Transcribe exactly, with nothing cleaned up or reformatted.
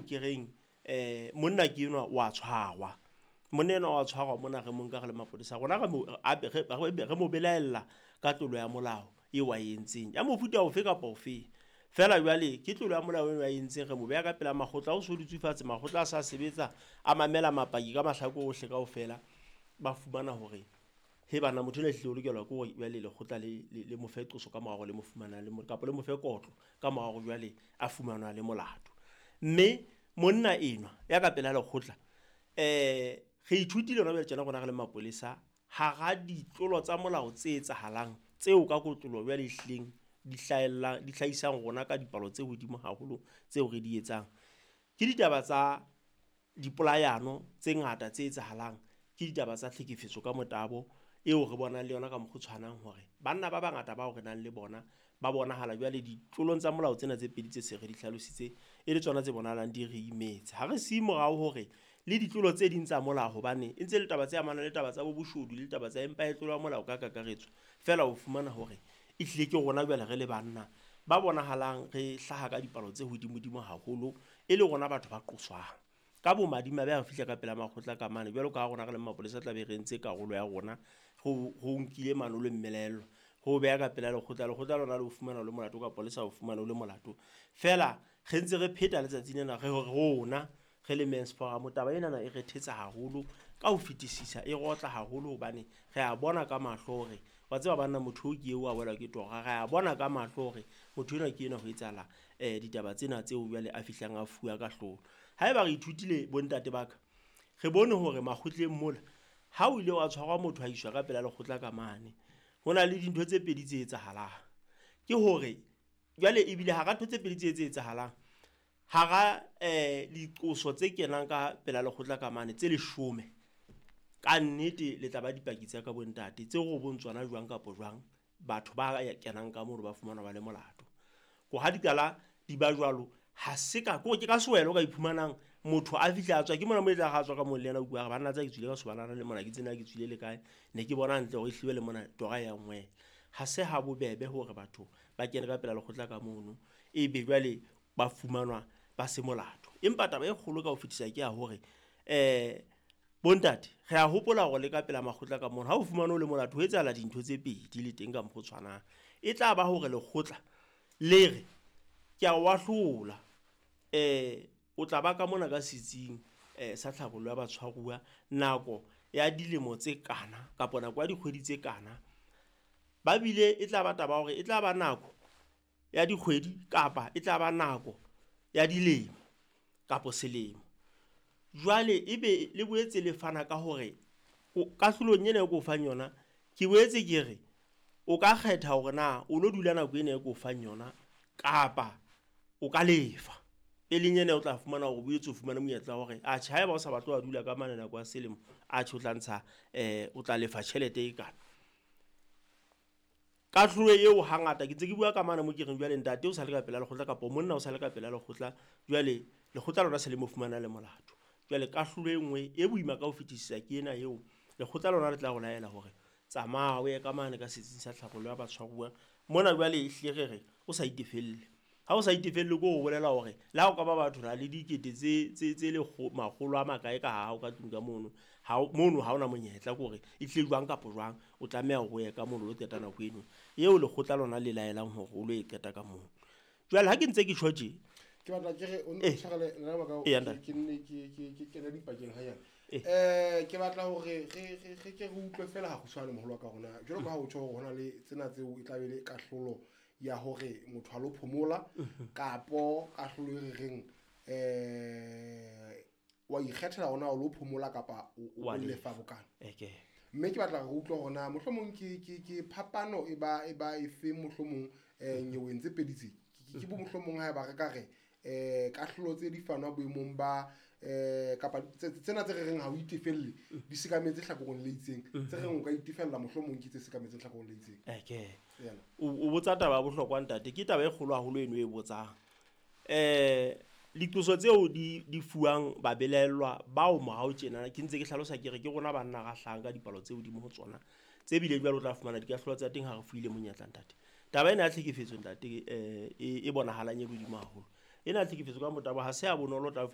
ke reng um monna ke enwa wa tshwarwa. Monna enwa wa tshwarwa mona re mo nka re le mapolesa. Rona re mo re mo belaella ka tlolo ya molao eo a entseng. Ya mofuta ofe kapa ofe. Feela jwale ke tlolo ya molao eo a entseng re mo beha ka pela makgotla. Ha o so dutse fatshe makgotla a sa sebetsa a mamela mapaki ka mahlakore ohle kaofela. Ba fumana hore he bana motho enwa ehlile o lokelwa ke hore jwale lekgotla le le mo fe qoso ka mora hore le mo fumana le kapa le mo fe kotlo ka mora hore jwale a fumanwa le molato. Mme monna enwa ya ka pela lekgotla eh re ithutile hona jwale tjena rona re le mapolesa hara ditlolo tsa molao tse etsahalang tseo ka kotloloho jwale ehlileng di hlahellang di hlahisang rona ka dipalo tse hodimo haholo tseo re di etsang. Ke ditaba tsa dipolayano tse ngata tse etsahalang, ke ditaba tsa tlhekefetso ka motabo eo re bonang le yona ka mokgwa o tshwanang hore banna ba bangata bao re nang le bona ba bonahala jwale ditlolong tsa molao tsena tse pedi tse se re di hlalositse e le tsona tse bonahalang di re imetse. Ha re siye morao hore le ditlolo tse ding tsa molao hobane e ntse le taba tse amanang le taba tsa bo boshodu le taba tsa empa e tlolo ya molao ka kakaretso. Feela o fumana hore ehlile ke rona jwale re le banna ba bonahalang re hlaha ka dipalo tse hodimodimo haholo e le rona batho ba qoswang. Ka bomadimabe ha re fihla ka pela makgotla ka mane jwalo ka ha rona re le mapolesa tla be re entse karolo ya rona ho ho nkile mano le mmelelo ho beha ka pela lekgotla. Lekgotla lona le o fumana o le molato kapa le sa o fumane o le molato. Feela re ntse re pheta letsatsi lena re hore rona re le Men's Forum taba enana e re thetsa haholo ka ho fetisisa, e rotla haholo hobane re a bona ka mahlo hore wa tseba banna motho o ke eo a welwa ke tora. Re a bona ka mahlo hore motho enwa ke enwa ho etsahala eh ditaba tsena tseo jwale a fihlang a fuwa kahlolo. Haeba re ithutile bontate ba ka, re bone hore makgotleng mola ha o ile wa tshwarwa motho a iswa ka pela lekgotla ka mane, ho na le dintho tse pedi tse etsahalang. Ke hore jwale ebile hara ntho tse pedi tse tse etsahalang hara eh diqoso tse kenang ka pela lekgotla ka mane tse leshome, ka nnete le tla ba dipaki tsa ka bontate tse robong tsona jwang kapa jwang batho ba kenang ka mono ba fumanwa ba le molato. Ko ha di qala di ba jwalo ha se ka ko ke ka sewelo o ka iphumanang motho a fihla a tswa ke mona mo e tla ga tswa ka mo le yena o bua banna tsa ke tswile ka sobanana le mona ke tsena ke tswile le kae ne ke bona hantle hore ehlile le mona tora ya ngwela. Ha se ha bobebe hore batho ba kene ka pela lekgotla ka mono ebe jwale ba fumanwa ba se molato. Empa taba e kgolo ka ho fetisa ke ya hore eh bontate re a hopola hore le ka pela makgotla ka mono ha o fumane o le molato ho etsahala dintho tse pedi le teng ka mokgwa o tshwanang. E tla ba hore lekgotla le re ke a o ahlola eh o tla ba ka mona ka setsing eh sa tlhabollo ya batshwaruwa nako ya dilemo tse kana kapa nako ya dikgwedi tse kana. Ba bile e tla ba taba hore e tla ba nako ya dikgwedi kapa e tla ba nako ya dilemo kapa selemo. Jwale ebe le boetse le fana ka hore kahlolong ena e ko fang yona ke boetse ke re o ka kgetha hore na o lo dula nako ena e ko fang yona kapa o ka lefa. E leng ena o tla fumana hore o boetse o fumane monyetla wa hore atjhe haeba o sa batle wa dula ka mane nako ya selemo atjhe o tla ntsha eh o tla lefa tjhelete e kana. Kahlolo eo hangata ke ntse ke bua ka mane mo ke reng jwale ntate o sa le ka pela lekgotla kapa monna o sa le ka pela lekgotla jwale lekgotla lona se le mo fumana le molato. Jwale kahlolo e nngwe e boima ka ho fetisisa ke ena eo lekgotla lona le tla go laela hore tsamaya o ye ka mane ka setsing sa tlhabollo ya batshwaruwa mona jwale ehlile re re o sa itefelle. Ha o sa itefelle ko o bolela hore le ha o ka ba batho na le dikete tse tse tse le makgolo a makae ka ha o ka tlung ka mono ha mono ha ona monyetla ke hore ehlile jwang kapa jwang o tlameha hore o ye ka mono o lo qeta nako eno eo lekgotla lona le laelang hore o lo e qeta ka mono. Jwale ha ke ntse ke tjho tje ke batla ke re o ntshwarele nna ba ka ke nne ke ke ke kena dipakeng hanyane. Eh ke batla hore re re re ke re utlwe fela ha kgutshwane moholo wa ka rona jwalo ka ha o tjho hore hona le tsena tseo e tla be le kahlolo ya hore motho a lo phomola kapo kahlolo e re reng eh wa ikgethela hona o lo phomola kapa o lefa bokana. Mme ke batla re utlwe hore na mohlomong ke ke ke phapano e ba e ba efe mohlomong eh nyeweng tse pedi tse ke bo mohlomong ha ba re ka re eh kahlolo tse di fanwa boemong ba eh kapa tsena tse re reng ha o itefelle di sekametse hlakoreng le itseng tse reng o ka itefella mohlomong ke tse sekametseng hlakoreng le itseng. Eke o botsa taba ya bohlokwa ntate, ke taba e kgolo haholo eno e botsang. Eh diqoso tseo di di fuwang babelaellwa bao morao tjena ke ntse ke hlalosa ke re ke rona banna ra hlahang ka dipalo tse hodimo ho tsona tse bile jwale o tla fumana dikahlolo tsa teng ha re fuile monyetla ntate. Taba ena ya tlhekefetso ntate eh e bonahalang e hodimo haholo. Ena tlhekefetso ka motabo ha se ya bonolo tla